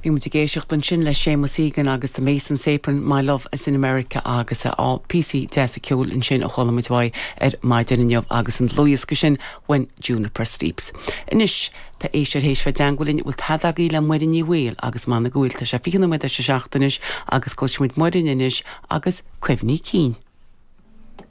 Bhí muid ag éisteacht ansin le Séamus Egan agus The Mason's Apron, My Love is in America agus píosaí deasa ceoil ansin a chuala muid uaidh ar maidin inniu agus an dlúthdhiosca sin When Juniper Sleeps. Anois, tá éisteoir théis bheith i dteangmháil linn, bhfuil tada agaibh le Muireann Ní Bhaoill agus m'anam go bhfuil, tá sé 20 nóiméad tar éis a 7 anois agus cloisfidh muid Muireann anois agus Cuimhní Cinn.